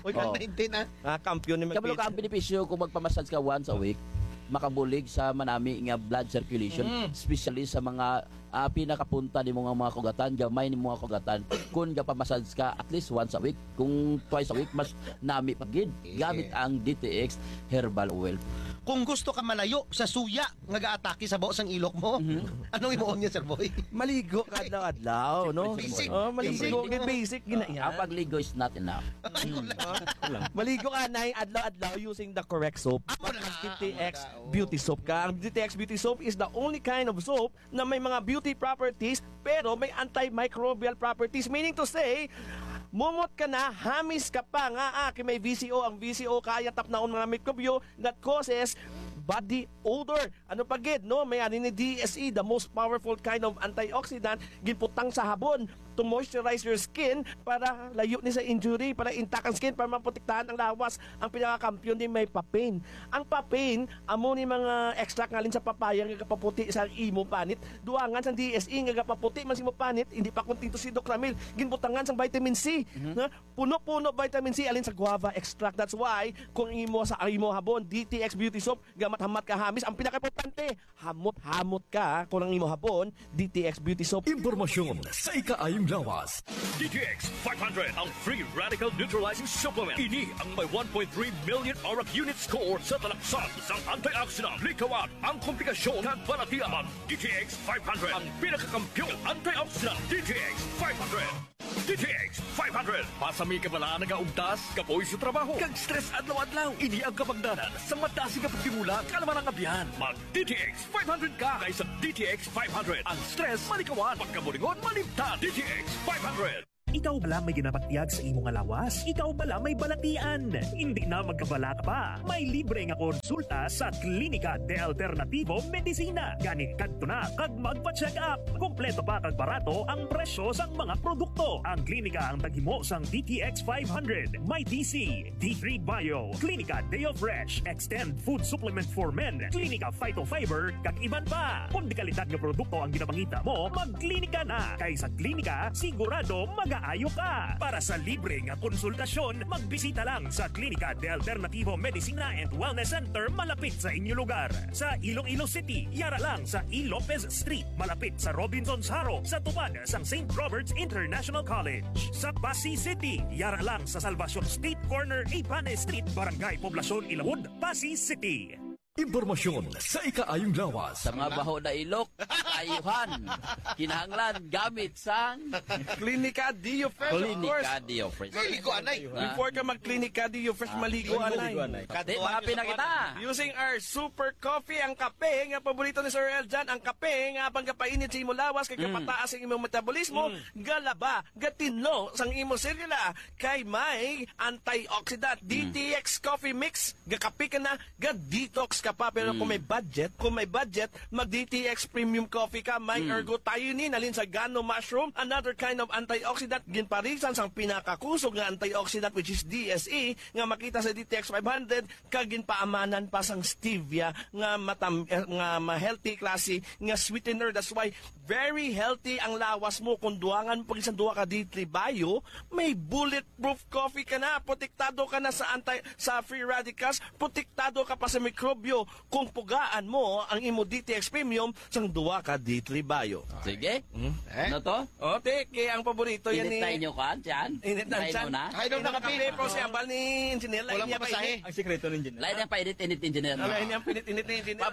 Uy, kang Oh. nineteen, ah. Ah, kampiyon ni Kabalo ka, ang Magpit. benepisyo kung magpamassage ka once a week, makabulig sa manami nga blood circulation, Mm. especially sa mga, ah, pinakapunta nimo nga mga kugatan, gamay nimo nga kugatan. Kung gapamassage ka at least once a week, kung twice a week, mas nami pa gid. Yeah. Gamit ang D T X Herbal Oil. Kung gusto ka malayo sa suya nga gaatake sa baho sang ilok mo, Mhm. anong imuon niya, Sir Boy? Maligo ka adlaw-adlaw, no? Basic. Oh, maligo, Basic. basic gina-, yan. Ang pagligo is not enough. Ay, wala. Ah, wala. Maligo ka na adlaw-adlaw using the correct soap. Amo na, Mag-D T X amo na, oh. Beauty Soap ka. Ang D T X Beauty Soap is the only kind of soap na may mga beauty properties, pero may antimicrobial properties. Meaning to say, mumot ka na, hamis ka pa nga, ah, kay may V C O. Ang V C O kaya tapnaon mga mikrobyo that causes body odor. Ano pa gid, no? May ani ni D S E, the most powerful kind of antioxidant, ginputang sa habon to moisturize your skin para layo ni sa injury, para intact ang skin, para maprotektahan ang lawas. Ang pinakakampiyon din may papain. Ang papain, amo ni mga extract ngalin sa papaya nga gapaputi sa imo panit. Duangan sang D S E nga gapaputi man sa imo panit, hindi pa kontento si Doc Ramil. Ginbutangan sang vitamin C, Mhm. na puno-puno vitamin C alin sa guava extract. That's why kung imo sa imo habon, D T X Beauty Soap, gamat-hamat ka hamis, ang pinakaimportante, hamot-hamot ka kung ang imo habon, D T X Beauty Soap. Impormasyon sa ikaayong lawas. D T X five hundred, ang free radical neutralizing supplement. Ini ang may one point three million arak unit score sa talaksan sang antioxidant. Likawan ang komplikasyon kag balatian. Mag D T X five hundred, ang pinakakampiyon antioxidant. D T X five hundred. D T X five hundred. Pasami ka bala nagaugtas, kapoy sa trabaho, kag stress adlaw-adlaw. Ini ang kabangdanan sa madasig nga pagtimula, kalman ang abyan. Mag D T X five hundred ka, kay sa D T X five hundred, ang stress malikawan, pagkaburingon malimtan. D T X five hundred. Ikaw bala may ginabatyag sa imo nga lawas? Ikaw bala may balatian? Hindi na magkabala ka pa. May libre nga konsulta sa Klinika de Alternativo Medicina. Gani kadto na kag magpa-check up. Kompleto pa kag barato ang presyo sang mga produkto. Ang klinika ang taghimo sang D T X five hundred, may D C, D three Bio, Klinika Deo Fresh, Extend Food Supplement for Men, Klinika Phytofiber, kag iban pa. Kung dekalidad nga produkto ang ginapangita mo, magklinika na. Kay sa klinika, sigurado magaayo ka. Para sa libre nga konsultasyon, magbisita lang sa Klinika de Alternativo Medicina and Wellness Center malapit sa inyo lugar. Sa Iloilo City, yara lang sa E. Lopez Street, malapit sa Robinsons Haro, sa tupad sang Saint Robert's International College. Sa Passi City, yara lang sa Salvacion Street, corner Ibanes Street, Barangay Poblacion, Ilawod, Passi City. Impormasyon sa ikaayong lawas. Sa mga baho na ilok, ayuhan. Kinahanglan gamit sang Klinika Dio Fresh, of Klinika course. Dio Fresh. Maligo, anay. Ah. Before ka mag-Klinika Dio Fresh, Ah. maligo, Maligo, anay. anay. Di, Kadtuan mga niyo sa pinakita. Kuan. Using our super coffee, ang kape nga paborito ni Sir Eljan, ang kape nga panggapainit sa imo lawas, kay Mm. gapataas ang imong metabolismo, Mm. galaba, gatinlo sang imo selula, kay may antioxidant, Mm. D T X Coffee Mix, gakape ka na, ga-detox ka pa. Pero kung Mm. may budget, kung may budget, mag-D T X Premium Coffee ka, may Mm. ergothioneine, halin sa gano mushroom, another kind of antioxidant, ginparisan sang pinakakusog nga antioxidant, which is D S E, nga makita sa D T X five hundred, kag ginpaamanan pa sang stevia nga matam-, eh, nga ma-healthy klase nga sweetener. That's why very healthy ang lawas mo. Kung duangan mo pa gid sang duha ka D three Bio, may bulletproof coffee ka na. Protektado ka na sa anti-, sa free radicals. Protektado ka pa sa mikrobyo kung pugaan mo ang imo D T X Premium sang duha ka D three Bio. Sige. Hmm? Eh? Ano to? O, te, kay ang paborito yan Init ni tayo nyo, kan? Yan? Init ng Tayo tiyan. na? Ay, doon Init na ng kape. kape, pero si ambal ni Engineer, lain Walang niya pa pamasahe. init. Ang sikreto ni Engineer. Lain niya ang pinit-init ni Engineer. Lain niya ang pinit-init ni Engineer.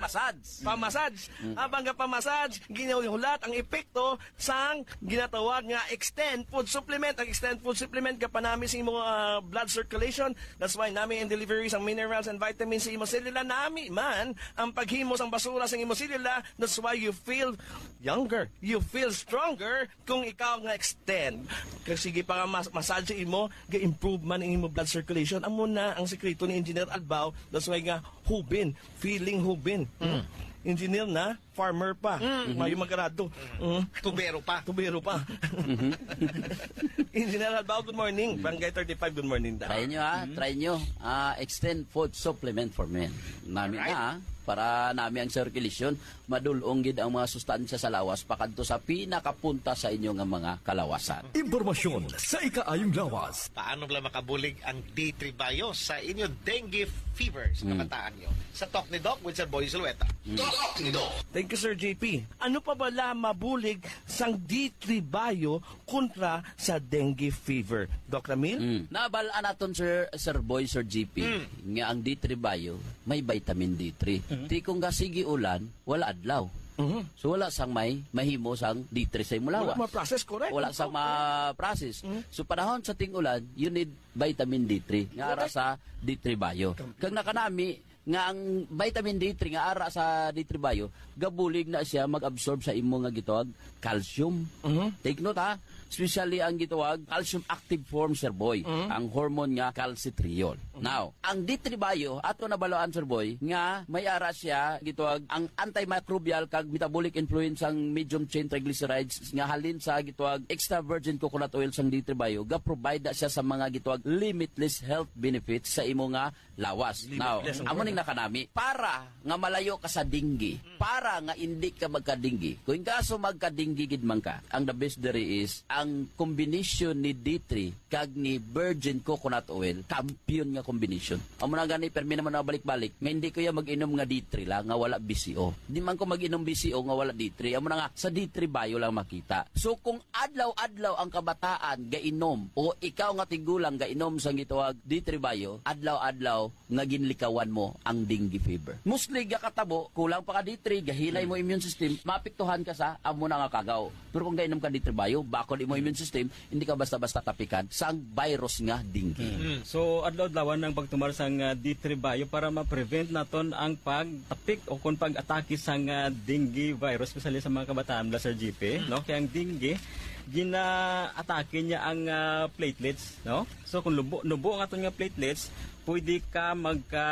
Pamassage. Mm. Abang nga pamassage, ginahulat ang epekto sang ginatawag nga Extend Food Supplement. Ang Extend Food Supplement, gapanami sa imong, ah, blood circulation. That's why nami ang delivery sang minerals and vitamins sa imong selula. Nami man ang paghimo sang basura sang imong selula. That's why you feel younger. You feel stronger. Kung ikaw nga Extend, kag sige pa nga mas-, massage imo, ga-improve man ang imo blood circulation. Amo na ang sikreto ni Engineer Albao. That's why nga hubin, feeling hubin. Mm. Engineer na, farmer pa. Mm. Mayo magrado. Mm. Tubero pa. Tubero pa. Mhm. Engineer Albao, good morning. Mm. Barangay thirty-five, good morning da. Try nyo, ha? Mm. Try nyo. Ah, Extend Food Supplement for Men. Nami Alright. na, ha? Para nami ang circulation. Madul-ong gid ang mga sustansya sa lawas pakadto sa pinakapunta sa inyo nga mga kalawasan. Impormasyon sa ikaayong lawas. Paano bala makabulig ang D three Bio sa inyo dengue fever sa Hmm. kabataan nyo? Sa Talk ni Doc with Sir Boy Zulueta. Hmm. Talk ni Doc. Thank you, Sir J P. Ano pa bala mabulig sang D three Bio kontra sa dengue fever? Doc Ramil? Hmm. Nabal-an naton, Sir, Sir Boy, Sir J P, Hmm. nga ang D three Bio may vitamin D three. Hmm. Ti kung gasigi ulan, wala adlaw. Mhm. So, wala sang may mahimo sang D three sa imo Wala lawas. ma-process, correct? Wala sang Oo. ma-process. Mhm. So, panahon sa ting-ulan, you need vitamin D three nga ara Correct. sa D three Bio. Kam- Kag nakanami nga ang vitamin D three nga ara sa D three Bio, gabulig na siya mag-absorb sa imo nga gitawag calcium. Mhm. Take note, ha, especially ang gitawag calcium active form, Sir Boy, Mhm. ang hormone nga calcitriol. Mhm. Now, ang D three Bio, ato nabaloan, Sir Boy, nga may ara siya gitawag ang antimicrobial kag metabolic influence sang medium chain triglycerides nga halin sa gitawag extra virgin coconut oil sang D three Bio, ga-provide na siya sa mga gitawag limitless health benefits sa imo nga lawas. Now, Limitless ang amo ning word. nakanami. Para nga malayo ka sa dengue, Mm. para nga indi ka magka-dengue. Kung in kaso magka-dengue gid man ka, ang the best diri is ang combination ni D three kag ni virgin coconut oil, kampiyon nga combination. Amo na gani, permi naman na balik-balik, nga hindi ko ya mag-inom nga D three lang, nga wala B C O. Di man ko mag-inom B C O nga wala D three. Amo na nga, sa D three Bio lang makita. So, kung adlaw-adlaw ang kabataan gainom, o ikaw nga tigulang gainom sang gitawag D three Bio, adlaw-adlaw nga ginlikawan mo ang dengue fever. Mostly gakatabo, kulang pa ka D three, gahinay mo Hmm. immune system, maapektuhan ka sa amo na nga kagaw. Pero kung gainom ka D three Bio, bakod imo immune system, hindi ka basta-basta tapikan sang virus nga dengue. Hmm. So, adlaw-adlawan ang pagtumar sang, ah, D three Bio para ma-prevent naton ang pagtapik o kung pag-atake sang, ah, dengue virus, especially sa mga kabataan, bala, Sir G P, Hmm. no? Kaya ang dengue, ginaatake niya ang, ah, platelets, no? So, kung lubo, nubo ang aton nga platelets, pwede ka magka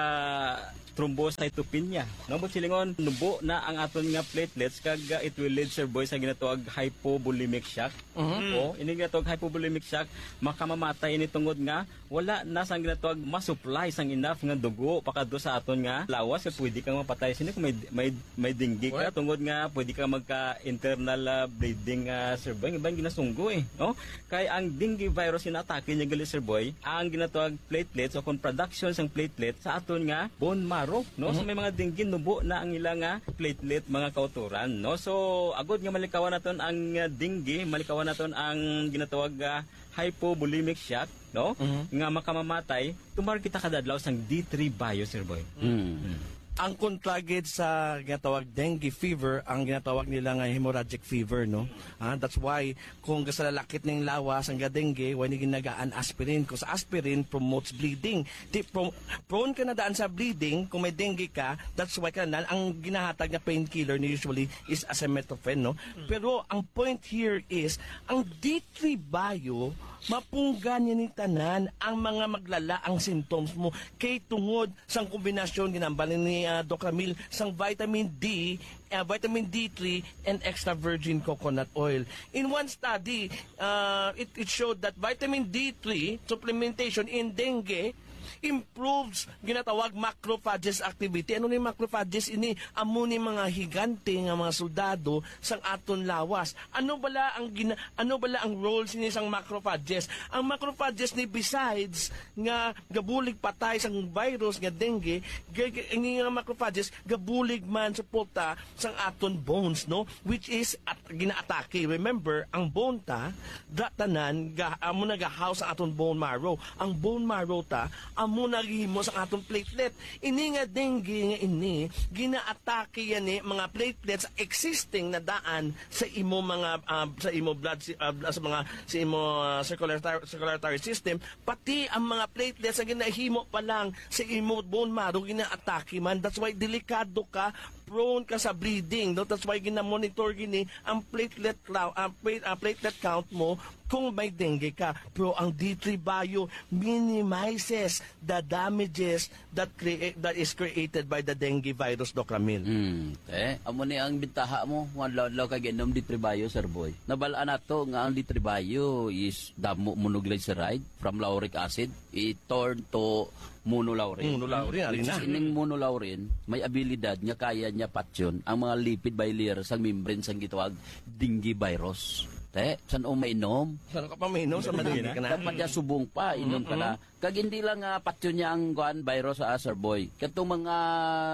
thrombocytopenia, no? But silingon, nubo na ang aton nga platelets, kag, ah, it will lead, Sir Boy, sa ginatawag hypovolemic shock. Mhm. O, ini ginatawag hypovolemic shock, makamamatay ini tungod nga wala na sang ginatawag ma-supply sang enough nga dugo pakadto sa aton nga lawas, kag pwede kang mapatay sini kung may, may, may dengue ka, What? Tungod nga pwede ka magka-internal, ah, bleeding, ah, Sir Boy. Iban ginasunggo, eh, no? Kay ang dengue virus, ginatake niya gali, Sir Boy, ang ginatawag platelets o kung production sang platelet sa aton nga bone marrow, no? So, Mhm. may mga dengue, nubo na ang ila nga platelet, mga kautoran, no? So, agod nga malikawan naton ang, ah, dengue, malikawan naton ang ginatawag, ah, hypovolemic shock, no? Mhm. Nga makamamatay, tumar kita kada adlaw sang D three bio, Sir Boy. Mm. Mm. Ang kontra gid sa ginatawag dengue fever, ang ginatawag nila nga hemorrhagic fever, no? Ah, that's why kung gasalalakit ning lawas ang dengue, why ni ginagaan aspirin? 'Cause aspirin promotes bleeding. Di, pro-, prone ka na daan sa bleeding kung may dengue ka, that's why ka na, ang ginahatag nga painkiller ni usually is acetaminophen, no? Mm. Pero ang point here is, ang D three bio, mapunggan niya ni tanan ang mga maglala ang symptoms mo kay tungod sang kombinasyon, ginambal ni, ah, Doc Ramil, sang vitamin D, ah, vitamin D three, and extra virgin coconut oil. In one study, ah, it, it showed that vitamin D three supplementation in dengue improves ginatawag macrophages activity. Ano ni macrophages? Ini amo ni mga higante nga mga soldado sang aton lawas. Ano bala ang gina-, ano bala ang role sini sang macrophages? Ang macrophages ni, besides nga gabulig patay sang virus nga dengue, ga-, ga-, ini nga macrophages gabulig man suporta sang aton bones, no? Which is at, ginaatake. Remember, ang bone ta, da tanan, ga, amo nagahaw sa aton bone marrow. Ang bone marrow ta, amo nagahimo sa aton platelet. Ini nga dengue nga ini, ginaatake yan ni mga platelets existing na daan sa imo mga, ah, sa imo blood, si-, ah, sa mga, sa imo, ah, circulatory, circulatory system, pati ang mga platelets nga ginahimo pa lang sa imo bone marrow, ginaatake man. That's why delikado ka, prone ka sa bleeding, no? That's why ginamonitor gini ang platelet clou-, ang pla-, ang platelet count mo kung may dengue ka. Pero ang D three bio minimizes the damages that crea-, that is created by the dengue virus, Doc Ramil. Hmm, eh, amo ni ang bintaha mo, kung adlaw-adlaw ka giinom D three bio, Sir Boy. Nabal-an nato nga ang D three bio is damo monoglyceride from lauric acid, i-turn to monolaurin. Monolaurin, ari na. Which is, ining monolaurin, may abilidad nga kaya niya patyon ang mga lipid bilayer sang membrane sang gitawag dengue virus. Te, san-o mainom? San ka pa mainom sa Hindi madali na. ka na? Dapat niya subong pa, inom ka na. Mm-mm. Kag hindi lang, ah, patyon niya ang, kuan, virus, ah, Sir Boy. Katong mga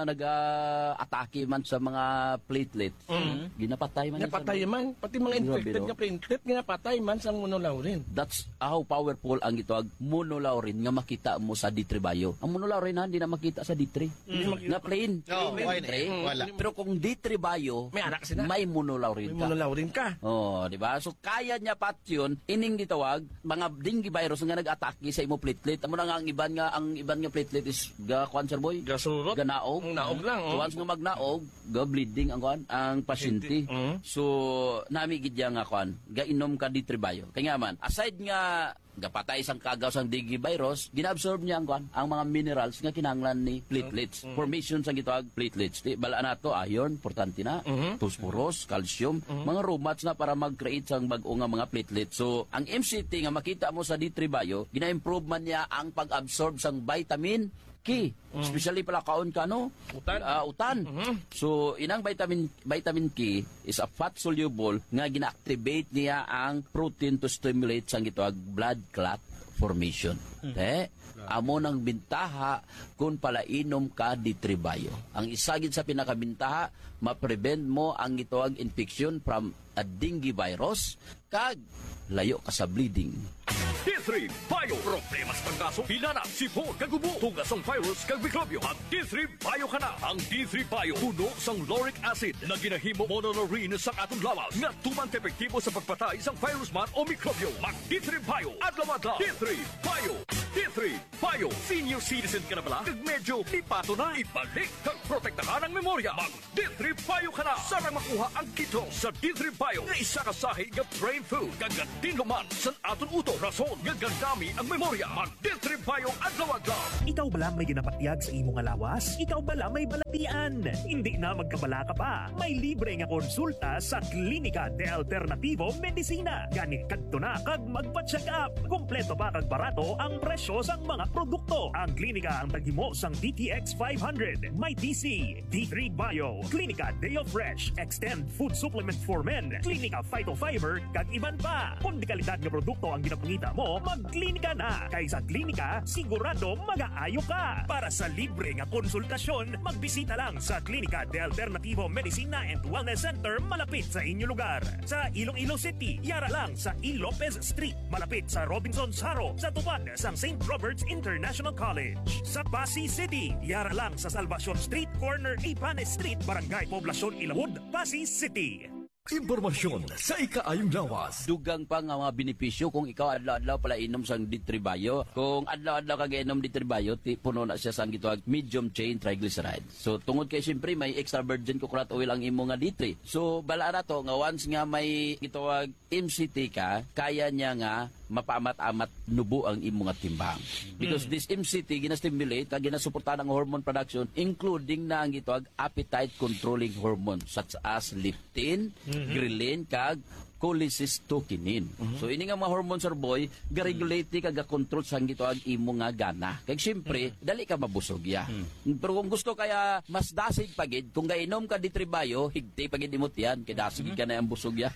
nag-aatake man sa mga platelet, Mm. ginapatay man niya, Sir Boy. Napatay man. Pati mga Grabe, infected no? nga platelet, ginapatay man sa monolaurin. That's how powerful ang gitawag monolaurin nga makita mo sa D three bio. Ang monolaurin, ha, hindi na makita sa D three. Mm. Nga plain. Oo, Plain okay D three. na. Wala. Pero kung D three bio, May anak sila. may monolaurin May ka. monolaurin ka. Oh, di ba? So, kaya niya patyon ining gitawag mga dengue virus nga nag-atake sa imo platelet. Amo na nga ang iban nga, ang iban nga platelet is ga, kuan, Sir Boy? Gasurot. Ganaog. Ang naog lang, oh. So, once nga magnaog, ga bleeding ang, kuan, ang pasyente. Hindi. Mm. So, nami gid niya nga, kuan, gainom ka D three bio. Kaya nga man, aside nga gapatay sang kagaw sang dengue virus, ginaabsorb niya ang, kuan, ang mga minerals nga kinahanglan ni platelets. Mm. Formation sang gitawag platelets. Di, bala nato, iron, importante na, Mhm. phosphorus, calcium, Mhm. mga romats na para mag-create sang bag-o nga mga platelets. So, ang M C T nga makita mo sa D three bio, gina-improve man niya ang pag-absorb sang vitamin K. Mm. Especially pala kaon ka, no? Utan. Ah, utan. Mhm. So, inang vitamin, vitamin K is a fat soluble nga gina-activate niya ang protein to stimulate sang gitawag blood clot formation. Mm. Te, Grabe. amo nang bintaha kung palainom ka D three bio. Ang isa gid sa pinakabintaha, ma-prevent mo ang gitawag infection from a dengue virus, kag layo ka sa bleeding. D three Bio. Problema sa panggaso, hilanat, sipon, kag ubo, tuga sang virus kag mikrobyo. Mag D three Bio ka na. Ang D three Bio puno sang lauric acid na ginahimo monolaurin sa aton lawas nga tuman ka epektibo sa pagpatay sang virus man o mikrobyo. Mag D three Bio adlaw-adlaw. D three Bio. D three Bio. Senior citizen ka na bala? Kag medyo lipato na? Ibalik kag protektahan ang memorya. Mag D three Bio ka na. Sarang makuha ang kit sa D three Bio nga isa ka sahi nga brain food. Kag gatinluman san aton utok, rason nga gandami ang memorya. Mag D three Bio adlaw-adlaw. Ikaw bala may ginapatyag sa imo nga lawas? Ikaw bala may balatian? Hindi na magkabalaka pa. May libre nga konsulta sa Klinika de Alternativo Medicina. Gani kadto na kag magpa-check up. Kompleto pa kag barato ang presyo sang mga produkto. Ang klinika ang taghimo sang D T X five hundred, may D C, D three Bio, Klinika Deo Fresh, Extend Food Supplement for Men, Klinika Phytofiber, kag iban pa. Kung dekalidad nga produkto ang ginapangita mo, magklinika na. Kay sa klinika, sigurado magaayo ka. Para sa libre nga konsultasyon, magbisita lang sa Klinika de Alternativo Medicina and Wellness Center malapit sa inyo lugar. Sa Iloilo City, yara lang sa E. Lopez Street, malapit sa Robinsons Jaro, sa tupad sang Saint Robert's International College. Sa Passi City, yara lang sa Salvacion Street, corner Ibanes Street, Barangay Poblacion Ilawod, Passi City. Impormasyon sa ikaayong lawas. Dugang pa nga mga benepisyo kung ikaw adlaw-adlaw pala inom sang D three Bio. Kung adlaw-adlaw ka gainom D three Bio, ti puno na siya sang gitawag medium chain triglyceride. So tungod kay siyempre may extra virgin coconut oil ang imo nga D three. So bala na to nga once nga may gitawag M C T ka, kaya niya nga mapaamat-amat nubo ang imo nga timbang. Because this M C T gina-stimulate kag ginasuportahan ang hormone production, including na ang gitawag appetite controlling hormone such as leptin, ghrelin, kag cholecystokinin. So ini nga mga hormone, sir boy, ga-regulate ni kag ga-control sang gitawag imo nga gana. Kag siyempre, dali ka mabusog ya. Pero kung gusto kaya mas dasig pa gid, kung gainom ka D three Bio, higti pa gid imo tiyan kay dasig gid ka na ang busog ya.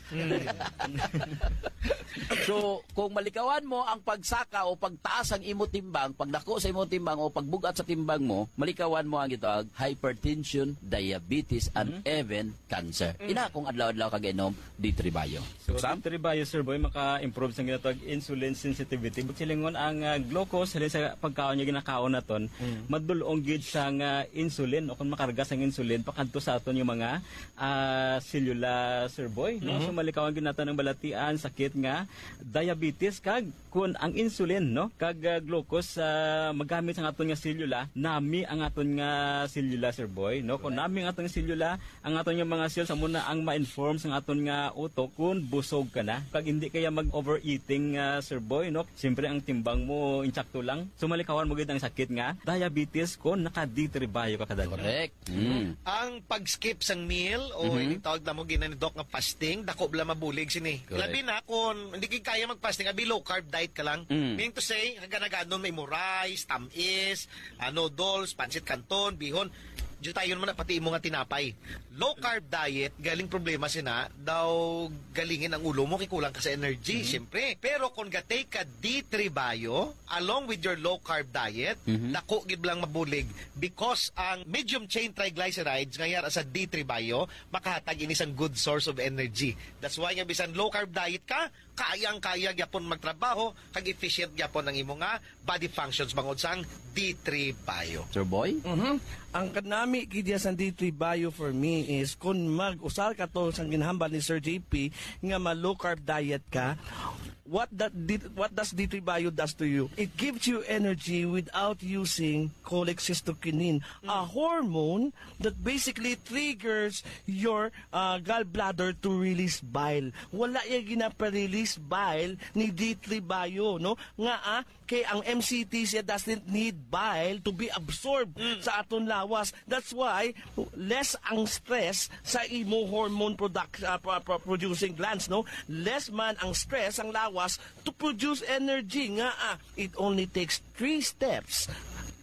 So, kung malikawan mo ang pagsaka o pagtaas ang imo timbang, pagdako sa imo timbang o pagbugat sa timbang mo, malikawan mo ang gitawag hypertension, diabetes, and even cancer. Ina kung adlaw-adlaw ka gainom D three Bio. So, Sam? D three Bio, sir boy, maka-improve sa ginatawag insulin sensitivity. But silingon ang ah, glucose, halin sa pagkaon niya ginakaon naton, madulong gid sang ah, insulin o kung makarga sang insulin pakadto sa aton yung mga ah, selula, sir boy, no? So malikawan gid naton ang balatian, sakit nga diabetes kag kun ang insulin, no, kag ah, glucose ah, magamit sa aton nga selula, nami ang aton nga selula, sir boy, no? Kung nami ang aton nga selula, ang aton nga mga cells amo na ang ma-inform sa aton nga utok kung busog ka na. Kag hindi kaya mag-overeating, ah, sir boy, no? Siyempre ang timbang mo insakto lang. So malikawan mo gid ang sakit nga diabetes kung naka D three Bio ka kadali. Correct. Mm. Ang pag-skip sang meal o Mhm. ini tawag namo gina ni Doc nga fasting, dako bala mabulig sini. Correct. Labi na kung hindi ka kaya mag-fasting, abi low carb diet ka lang. Mm. Meaning to say, kaganagadon may mo rice, tamis, ah, noodles, pancit canton, bihon. Jutayon mo na pati imo nga tinapay. Low carb diet, galing problema sina, daw galingin ang ulo mo, kay kulang ka sa energy, Mhm. siyempre. Pero kung gatay ka D three Bio, along with your low carb diet, Mhm. dako gid lang mabulig because ang medium chain triglycerides nga yara sa D three Bio, makahatag ini sang good source of energy. That's why nga bisan low carb diet ka, kayang-kaya gyapon magtrabaho, kag efficient gyapon ang imo nga body functions bangod sang D three Bio. Sir Boy? Mhm. Ang kanami gid ya sang D three Bio for me is kung mag-usar ka to sang ginhambal ni Sir J P nga ma low carb diet ka, what that D- what does D three Bio does to you? It gives you energy without using cholecystokinin, a hormone that basically triggers your ah, gallbladder to release bile. Wala ya ginapa-release bile ni D three Bio, no? Nga ah, kay ang M C T siya doesn't need bile to be absorbed Mm. sa aton lawas. That's why less ang stress sa imo hormone product ah, pro- pro- producing glands, no? Less man ang stress ang lawas to produce energy nga ah, it only takes three steps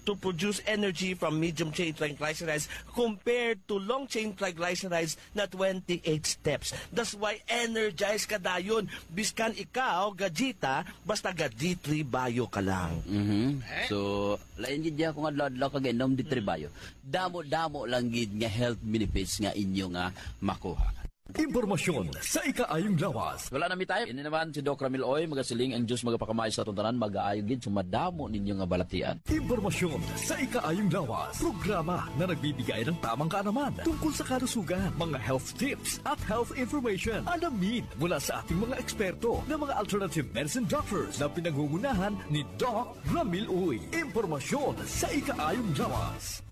to produce energy from medium chain triglycerides compared to long chain triglycerides na twenty-eight steps. That's why energized ka dayon. Biskan ikaw, gajita, basta ga D three Bio ka lang. Mhm. Eh? So, lain gid ya kung adlaw-adlaw ka gainom D three Bio. Damo-damo lang gid nga health benefits nga inyo nga makuha. Impormasyon sa ikaayong lawas. Wala na mi time. Ini naman si Doc Ramil Oy, magasiling ang Diyos magapakamay sa atong tanan, magaayo gid sa madamo ninyo nga balatian. Impormasyon sa ikaayong lawas. Programa na nagbibigay ng tamang kaalaman tungkol sa kalusugan, mga health tips at health information. Alamin mula sa ating mga eksperto na mga alternative medicine doctors na pinangungunahan ni Doc Ramil Uy. Impormasyon sa ikaayong lawas.